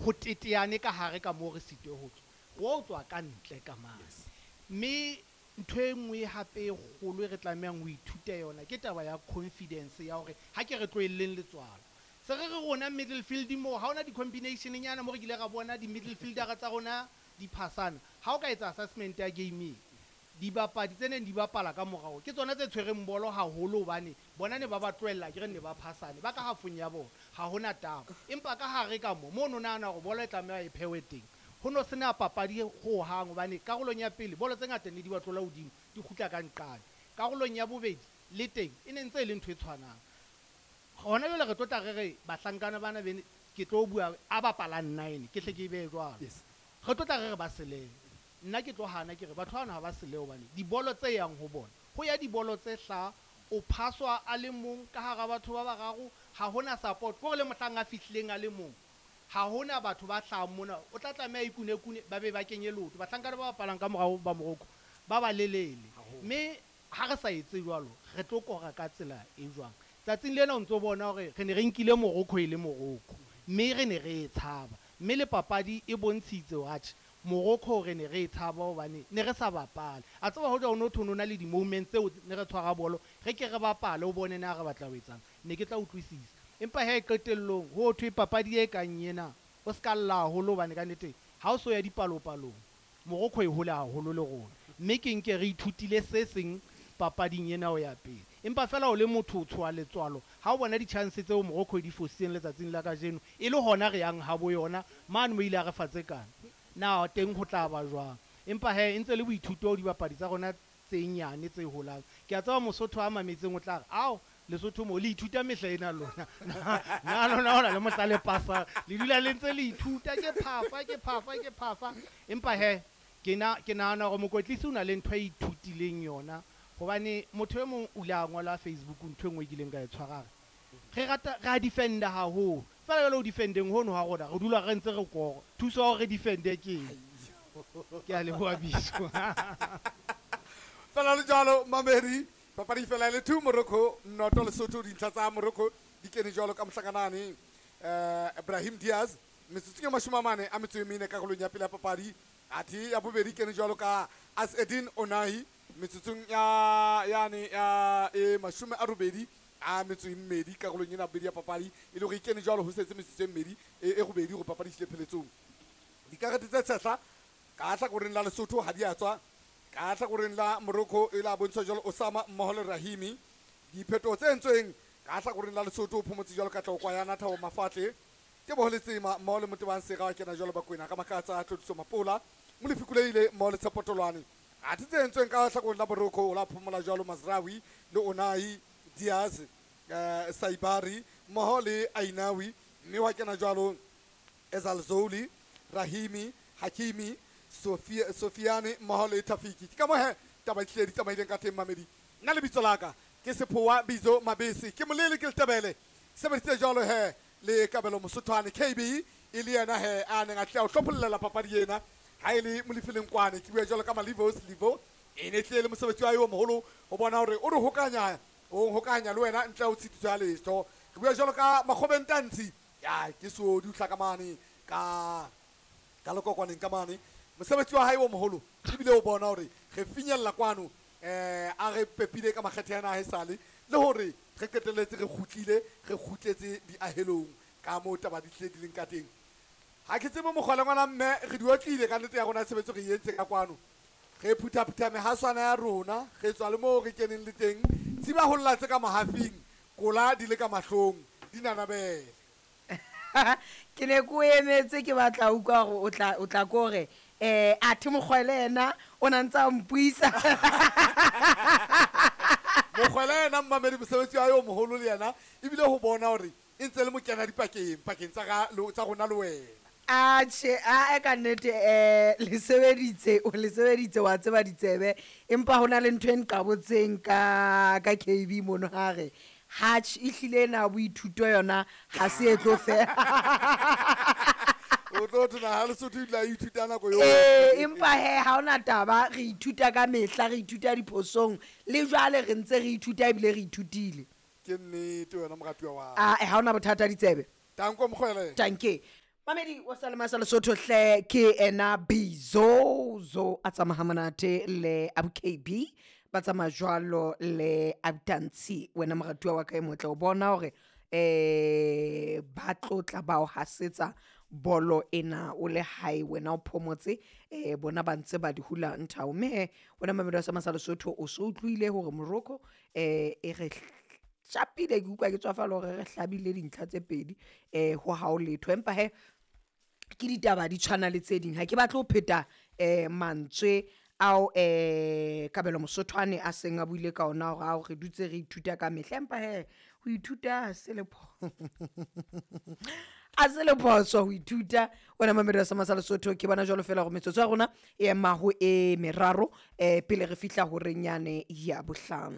Ho teteane ka hare ka moo re sitwe ho tswa. Ro tswa ka ntle ka mane. Mme ntho e nngwe hape e kgolo e re tlamehang ho ithuta yona ke taba ya confidence ya hore ha ke re tlohelleng letswalo. Se re re rona middle field moo ha hona di-combination nyana mo re kile ra bona di-middle fieldera tsa rona di phasana. Ha o ka etsa assessment ya game e, dibapadi tse neng di bapala ka morao ke tsona tse tshwereng bolo haholo hobane bona ne ba ba tlohella akere ne ba phasane ba ka hafong ya bona ha hona taba. Empa ka hare ka mo, mo o no nahana hore bolo e tlameha e phehwe teng, ho no sena papadi hohang hobane karolong ya pele bolo tse ngata ne di ba tlola hodimo di kgutla ka nqane. Karolong ya bobedi le teng e ne ntse e le ntho e tshwanang. Hona jwale re tlo tla re re bahlankana bana bene ke tlo bua a bapalang 9 ke hle ke e behe jwalo. Re tlo tla re re ba selehe. Nna ke tlo hana ke re batho bana ha ba selehe hobane dibolo tse yang ho bona ho ya dibolo tse hlaha o phaswa a le mong ka hara batho ba bararo ha hona support. Ke hore le mohlang a fihlileng a le mong ha hona batho ba hlahang mona o tla tlameha ikune-kune ba be ba kenye leoto. Bahlankana ba bapalang ka morao ba Morocco ba ba lelele. Mme ha re sa etse jwalo re tlo kora ka tsela e jwang. Tsatsing lena o ntso bona hore re ne re nkile Morocco e le Morocco mme re ne re e tshaba. Mme le papadi e bontshitse hore atjhe Morocco re ne re e tshaba hobane ne re sa bapale. A tseba hoja o no thwe o no na le di-moments tseo ne re tshwara bolo re ke re bapale o bone na re batla ho etsang. Ne ke tla utlwisisa. Empa he qetellong ho thwe papadi e kang ena o ska lla haholo hobane ka nnete ha o so ya dipalopalong Morocco e hole haholo le rona. Mme ke nke re ithutile se seng papading ena ho ya pele. Empa feela o le motho o tshoha letswalo ha o bona di-chance tseo Morocco e di fositseng letsatsing la kajeno e le hona re yang habo yona mane mo ile a re fa tse kana. Na teng ho tla ba jwang? Empa he e ntse le boithuto ho dibapadi tsa rona tse nyane tse holang. Ke a tseba Mosotho a mametseng o tla re, ao Lesotho mo le ithuta mehla ena lona. Na lona hona le mohla le pasang le dula le ntse le ithuta ke phafa ke phafa ke phafa. Empa he ke na ke nahana hore mokwetlisi o na le ntho e ithutileng yona hobane motho e mong o ile a ngola Facebook ntho e nngwe e kileng ka e tshwara re rata re a defenda haholo. Feela jwale ho defendeng hono ha rona re dula re ntse re kora. Thuso ya hore re defende ke eng? Ke a leboha Biso. Fela le jwalo mamedi papadi fela le 2 Morocco noto Lesotho dintlha tsa Morocco di kene jwalo ka mohlakanane Ibrahim Diaz metsotsong ya 44 a metso e mene karolong ya pele ya papadi athe ya bobedi kene jwalo ka Asedin Onahi metsotsong ya yane ya e 82 a metso e mmedi karolong ena bobedi ya papadi e le hore e kene jwalo ho setse metsotso e mmedi e robedi hore papadi e fihle pheletsong. Dikarete tse tshehla ka hlakoreng la Lesotho ha di a tswa ka hlakoreng la Morocco e la bontshwa jwalo Osama mmoho le Rahimi. Diphetoho tse entsweng ka hlakoreng la Lesotho o phomotse jwalo ka Tlokwa ya Nathabo Mafatle Teboho Letsema mmoho le Motebang Sera wa kena jwalo Bakwena ka Makatsa Tlodiso Mapola Molefi Kuleile mmoho le Tshepo Tolwane. Athe tse entsweng ka hlakoreng la Morocco o la phomola jwalo Mazraoui le Onahi Diaz Saibari mmoho le Ainawi mme wa kena jwalo Ezalzouli Rahimi Hakimi Sofiane mmoho le Tafiki. Ke ka moo he taba e hlile di tsamaileng ka teng mamedi. Nna lebitso la ka ke Sephowa Bizo Mabese ke molele ke letebele sebedisitse jwalo he le Kabelo Mosothwane KB e le yena he a neng a tle a o hlophollela papadi ena ha e le Molefi Lenkwane ke bua jwalo ka Malivos Livo e ne tlile le mosebetsi wa hae o moholo ho bona hore o re hokanya o hokanya le wena ntle ho tshitiso ya letho. Re bua jwalo ka Makgobeng Tantsi ya ke Soodi o hlaka mane ka ka lekokwaneng ka mane mosebetsi wa hae o moholo ebile o bona hore re finyella kwano a re pepile ka makgethe ana a haesale le hore re qetelletse re kgutlile re kgutletse diahelong ka moo taba di tlile di leng ka teng. Ha ke tsebe mokgwele ngwana mme re di otlile ka nnete ya rona tshebetso re entse ka kwano re phuthaphutha mehaswana ya rona re tswa le moo re keneng le teng tsiba ho lla tse ka mahafing kola di le ka mahlong di nanabele. Ke ne ke o emetse ke batla utlwa hore o tla ko re athe mokgwele yena o na ntse a mpuisa. Mokgwele yena mmamedi mosebetsi wa yo moholo le yena ebile ho bona hore e ntse le mokena dipakeng pakeng tsa tsa rona le wena. Atjhe a ka nnete le sebeditse o le sebeditse wa tseba ditsebe empa hona le ntho e nqabotseng ka KB mono ha re hatch e hlile ena boithuto yona ha se e tlo fela. O tlo thona ha Lesotho ile a ithuta nako eo. Empa he ha ona taba re ithuta ka mehla re ithuta diphosong le jwale re ntse re ithuta ebile re ithutile. Ke nnete wena moratuwa wa. A ha ona bothata ditsebe. Tanko mokgwele. Tanke. Mamedi wa Salema sa Lesotho hle, ke ena Bizozo a tsamaya monate le Abu KB, ba tsamaya jwalo le Abtansi. Wena moratuwa wa ka e motle, o bona hore ba tlotla ba o hasetsa bolo ena o le hae, wena o phomotse, bona ba ntse ba di hula nthao. Mme he wena mamedi wa Sama sa Lesotho, o so utlwile hore Morocco e re shapile. Ke utlwa ke tswafala hore re hlabile dintlha tse pedi ho hao letho, empa he ke ditaba di tshwana le tse ding. Ha ke batle ho pheta mantswe ao Kabelo Mosothwane a seng a buile ka ona, hore ao re dutse re ithuta ka mehla, empa he ho ithuta ha se le phoso ho ithuta. Wena mamedi wa Sama sa Lesotho, ke bona jwalo fela gore metsotso ya rona e ema ho e meraro pele re fihla horeng yane ya bohlano.